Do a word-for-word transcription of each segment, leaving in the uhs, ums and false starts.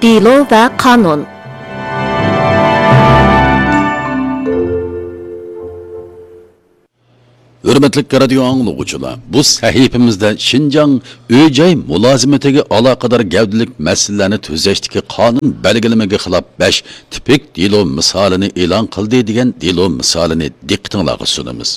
دېلو ۋە قانۇن. ھۆرمەتلىك رادىيو ئاڭلىغۇچىلار، بۇ سەھىپىمىزدە شىنجاڭ ئۆي-جاي مۇلازىمىتىگە ئالاقىدار گەۋدىلىك مەسىلىلەرنى تۈزەشتىكى قانۇن بەلگىلىمىگە خىلاپ بەش تىپىك دېلو مىسالىنى ئېلان قىلدى دېگەن دېلو مىسالىنى دىققىتىڭلارغا سۇنىمىز.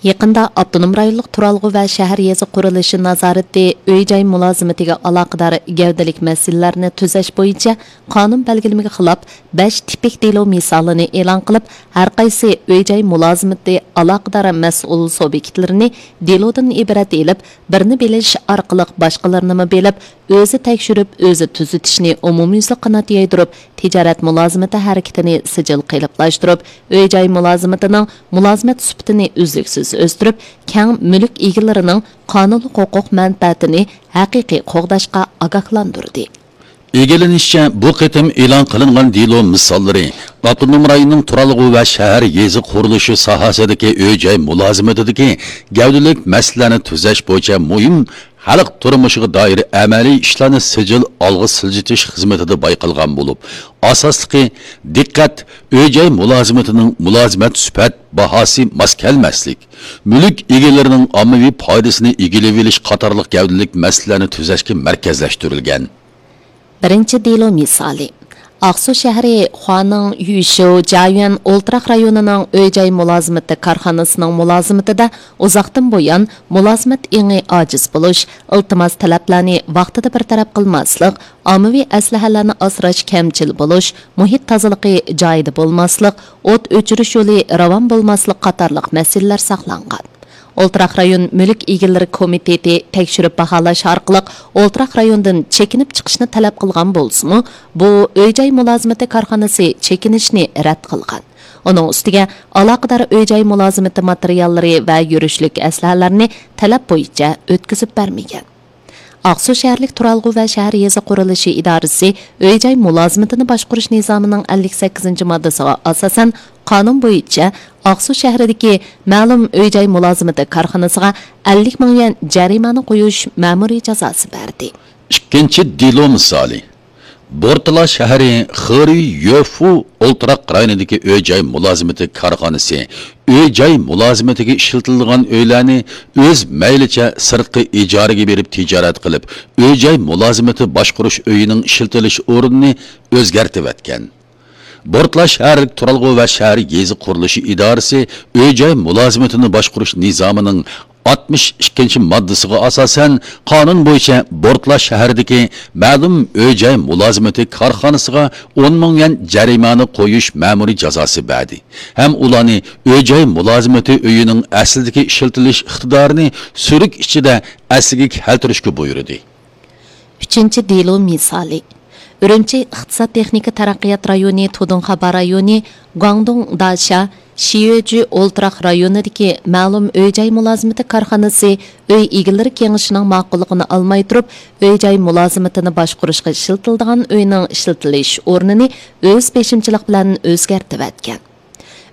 يېقىندا ئاپتونوم رايونلۇق تۇرالغۇ ۋە شەھەر يېزا قۇرۇلۇشى نازارىتى ئۆي-جاي مۇلازىمىتىگە ئالاقىدار گەۋدىلىك مەسىلىلەرنى تۈزەش بويىچە قانۇن بەلگىلىمىگە خىلاپ بەش تىپىك دېلو مىسالىنى ئېلان قىلىپ، ھەرقايسى ئۆي-جاي مۇلازىمىتى ئالاقىدار مەسئۇل سۇبيېكتلىرىنى دېلودىن ئىبارەت ئېلىپ، بىرنى بىلىش ئارقىلىق باشقىلىرىنىمۇ بىلىپ، ئۆزى تەكشۈرۈپ، ئۆزى تۈزىتىشنى ئومۇميۈزلۈك قانات يايدۇرۇپ، تىجارەت مۇلازىمىتى ھەرىكىتىنى سىجىل قېلىپلاشتۇرۇپ، ئۆي-جاي مۇلازىمىتىنىڭ مۇلازىمەت سۈپىتىنى ئۈزلۈكسىز ئۆستۈرۈپ، كەڭ مۈلۈك ئىگىلىرىنىڭ قانۇنلۇق ھوقۇق مەنپەئەتىنى ھەقىقىي قوغداشقا ئاگاھلاندۇردى. ئىگىلىنىشىچە، بۇ قېتىم ئېلان قىلىنغان دېلو مىساللىرى ئاپتونوم رايوننىڭ تۇرالغۇ ۋە شەھەر يېزا قۇرۇلۇشى ساھەسىدىكى ئۆي-جاي مۇلازىمىتىدىكى گەۋدىلىك مەسىلىلەرنى تۈزەش بويىچە مۇھىم خەلق تۇرمۇشىغا دائىر ئەمەلىي ئىشلارنى سىجىل ئالغا سىلجىتىش خىزمىتىدە بايقالغان بولۇپ، ئاساسلىقى دىققەت ئۆي-جاي مۇلازىمىتىنىڭ مۇلازىمەت سۈپەت باھاسى ماس كەلمەسلىك، مۈلۈك ئىگىلىرىنىڭ ئاممىۋى پايدىسىنى ئىگىلىۋېلىش قاتارلىق گەۋدىلىك مەسىلىلەرنى تۈزەشكە مەركەزلەشتۈرۈلگەن. بىرىنچى دېلو مىسالى. ئاقسۇ شەھىرى خۇانىڭ يۈشۇ جيۈەن ئولتۇراق رايونىنىڭ ئۆي-جاي مۇلازىمىتى كارخانىسىنىڭ مۇلازىمىتىدە ئۇزاقتىن بۇيان مۇلازىمەت ئېڭى ئاجىز بولۇش، ئىلتىماس تەلەپلەرنى ۋاقتىدا بىر تەرەپ قىلماسلىق، ئاممىۋى ئەسلىھەلەرنى ئاسراش كەمچىل بولۇش، مۇھىت تازىلىقى جايىدا بولماسلىق، ئوت ئۆچۈرۈش يولى راۋان بولماسلىق قاتارلىق مەسىلىلەر ساقلانغان. ئولتۇراق رايون مۈلۈك ئىگىلىرى كومىتېتى تەكشۈرۈپ باھالاش ئارقىلىق ئولتۇراق رايوندىن چېكىنىپ چىقىشنى تەلەپ قىلغان بولسىمۇ، بۇ ئۆي-جاي مۇلازىمىتى كارخانىسى چېكىنىشنى رەت قىلغان. ئۇنىڭ ئۈستىگە ئالاقىدار ئۆي-جاي مۇلازىمىتى ماتېرىياللىرى ۋە يۈرۈشلۈك ئەسلىھەلەرنى تەلەپ بويىچە ئۆتكۈزۈپ بەرمىگەن. ئاقسۇ شەھەرلىك تۇرالغۇ ۋە شەھەر يېزا قۇرۇلۇشى ئىدارىسى ئۆي-جاي مۇلازىمىتىنى باشقۇرۇش نىزامىنىڭ ئەللىك سەككىزىنچى ماددىسىغا ئاساسەن، قانۇن بويىچە ئاقسۇ شەھىرىدىكى مەلۇم ئۆي-جاي مۇلازىمىتى كارخانىسىغا ئەللىك مىڭ يۈەن جەرىمانە قويۇش مەمۇرىي جازاسى بەردى. ئىككىنچى دېلو مىسالى. بورتالا شەھىرى خېرۈي يۆفۇ ئولتۇراق رايونىدىكى ئۆي-جاي مۇلازىمىتى كارخانىسى ئۆي-جاي مۇلازىمىتىگە ئىشلىتىلىدىغان ئۆيلەرنى ئۆز مەيلىچە سىرتقا ئىجارىگە بېرىپ تىجارەت قىلىپ، ئۆي-جاي مۇلازىمىتى باشقۇرۇش ئۆيىنىڭ ئىشلىتىلىش ئورنىنى ئۆزگەرتىۋەتكەن. بورتالا شەھەرلىك تۇرالغۇ ۋە شەھەر يېزا قۇرۇلۇشى ئىدارىسى ئۆي-جاي مۇلازىمىتىنى باشقۇرۇش نىزامىنىڭ ئاتمىش ئىككىنچى ماددىسىغا ئاساسەن، قانۇن بويىچە بورتالا شەھىرىدىكى مەلۇم ئۆي-جاي مۇلازىمىتى كارخانىسىغا ئون مىڭ يۈەن جەرىمانە قويۇش مەمۇرىي جازاسى بەردى ھەم ئۇلارنى ئۆي-جاي مۇلازىمىتى ئۆيىنىڭ ئەسلىدىكى ئىشلىتىلىش ئىقتىدارىنى سۈرۈك ئىچىدە ئەسلىگە كەلتۈرۈشكە بۇيرۇدى. ئۈچىنچى دېلو مىسالى. ئۈرۈمچى ئىقتىساد تېخنىكا تەرەققىيات رايونى تۇدۇڭخابا رايونى گۇاڭدۇڭ داشا شىيۆجۈ ئولتۇراق رايونىدىكى مەلۇم ئۆي-جاي مۇلازىمىتى كارخانىسى ئۆي ئىگىلىرى كېڭىشىنىڭ ماقۇللۇقىنى ئالماي تۇرۇپ، ئۆي-جاي مۇلازىمىتىنى باشقۇرۇشقا ئىشلىتىلىدىغان ئۆينىڭ ئىشلىتىلىش ئورنىنى ئۆز بېشىمچىلىق بىلەن ئۆزگەرتىۋەتكەن.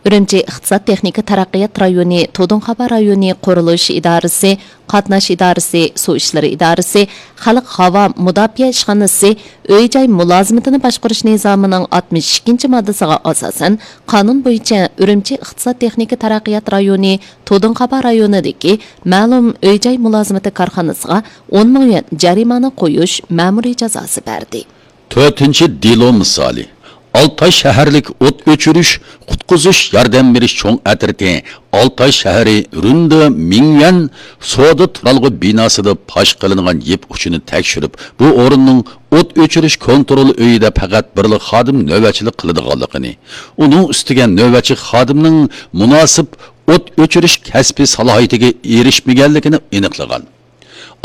ئۈرۈمچى ئىقتىساد تېخنىكا تەرەققىيات رايونى تۇدۇڭخابا رايونى قۇرۇلۇش ئىدارىسى، قاتناش ئىدارىسى، سۇ ئىشلىرى ئىدارىسى، خەلق ھاۋا مۇداپىئە ئىشخانىسى ئۆي-جاي مۇلازىمىتىنى باشقۇرۇش نىزامىنىڭ ئاتمىش ئىككىنچى ماددىسىغا ئاساسەن، قانۇن بويىچە ئۈرۈمچى ئىقتىساد تېخنىكا تەرەققىيات رايونى تۇدۇڭخابا رايونىدىكى مەلۇم ئۆي-جاي مۇلازىمىتى كارخانىسىغا ئون مىڭ يۈەن جەرىمانە قويۇش مەمۇرىي جازاسى بەردى. تۆتىنچى دېلو مىسالى. ئالتاي شەھەرلىك ئوت ئۆچۈرۈش، قۇتقۇزۇش، ياردەم بېرىش چوڭ ئەترىتى ئالتاي شەھىرى رۇندې مىڭيۈەن سودا تۇرالغۇ بىناسىدا پاش قىلىنغان يىپ ئۇچىنى تەكشۈرۈپ، بۇ ئورۇننىڭ ئوت ئۆچۈرۈش كونترول ئۆيىدە پەقەت بىرلا خادىم نۆۋەتچىلىك قىلىدىغانلىقىنى، ئۇنىڭ ئۈستىگە نۆۋەتچى خادىمنىڭ مۇناسىپ ئوت ئۆچۈرۈش كەسپىي سالاھىيىتىگە ئېرىشمىگەنلىكىنى ئېنىقلىغان.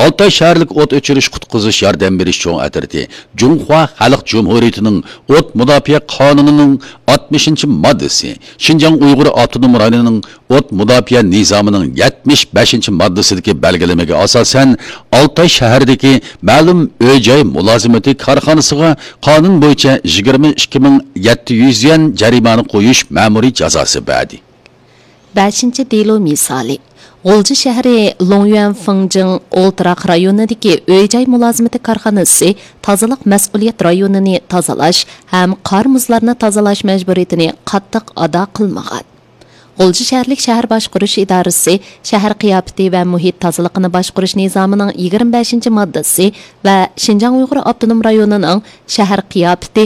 ئالتاي شەھەرلىك ئوت ئۆچۈرۈش قۇتقۇزۇش ياردەم بېرىش چوڭ ئەترىتى جۇڭخۇا خەلق جۇمھۇرىيىتىنىڭ ئوت مۇداپىئە قانۇنىنىڭ ئاتمىشىنچى ماددىسى، شىنجاڭ ئۇيغۇر ئاپتونوم رايونىنىڭ ئوت مۇداپىئە نىزامىنىڭ يەتمىش بەشىنچى ماددىسىدىكى بەلگىلىمىگە ئاساسەن، ئالتاي شەھىرىدىكى مەلۇم ئۆي-جاي مۇلازىمىتى كارخانىسىغا قانۇن بويىچە يىگىرمە ئىككى مىڭ يەتتە يۈز يۈەن جەرىمانە قويۇش مەمۇرىي جازاسى بەردى. بەشىنچى دېلو مىسالى. غۇلجا شەھىرى لوڭيۈەن فېڭجىڭ ئولتۇراق رايونىدىكى ئۆي-جاي مۇلازىمىتى كارخانىسى تازىلىق مەسئۇلىيەت رايونىنى تازىلاش ھەم قار-مۇزلارنى تازىلاش مەجبۇرىيىتىنى قاتتىق ئادا قىلمىغان. غۇلجا شەھەرلىك شەھەر باشقۇرۇش ئىدارىسى شەھەر قىياپىتى ۋە مۇھىت تازىلىقىنى باشقۇرۇش نىزامىنىڭ يىگىرمە بەشىنچى ماددىسى ۋە شىنجاڭ ئۇيغۇر ئاپتونوم رايونىنىڭ شەھەر قىياپىتى